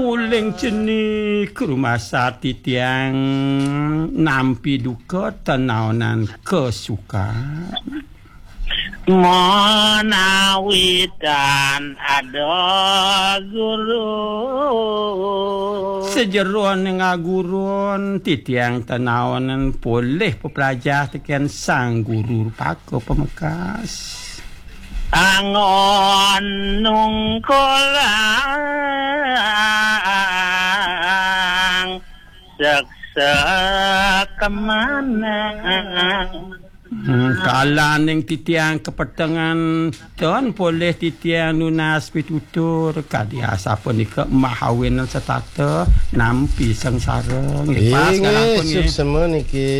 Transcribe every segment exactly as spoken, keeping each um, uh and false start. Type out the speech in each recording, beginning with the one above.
Uling cenik rumasar titiang nampi duka tanaonan kasukan. Menawi tan ada guru. Sajeroning agurun titiang tanaonan polih peplajah tekén Sang Guru Rupaka Pamekas. Anggon nungkulang seksek manang. Hmm, kalaning titiang kapetengan ton polih titiang nunas pitutur kadi asapunika mahawinan setata nampi sengsara. Nggih, pas nggih, kalampun nggih. Suksema niki.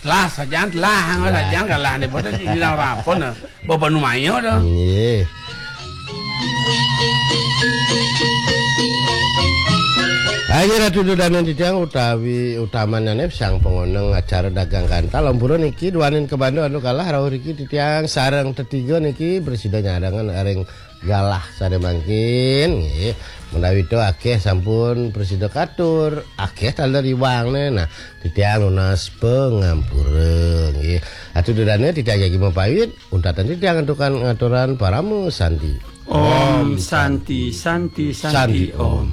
Lah, sajan lah, lah. Sajan kalah nih, boten dilarang apa, nah. Bapak numaya dah. Nggih. Ayo Ratu Dudaning titiang utawi utamanane sang pangoneng acara dagang kantal ampura niki duaning kebanda anu kalah rauh riki titiang sareng tetiga niki prasida nyarengan ring galah sane mangkin nggih. Menawi to akeh sampun prasida katur, akeh taler iwangne. Nah, titiang nunas pangampura nggih. Atu dudane titiang jagi mapawit, untatan titiang antukan ngaturan parama santi. Om Santi, Santi, Santi, Santi, Om. Om.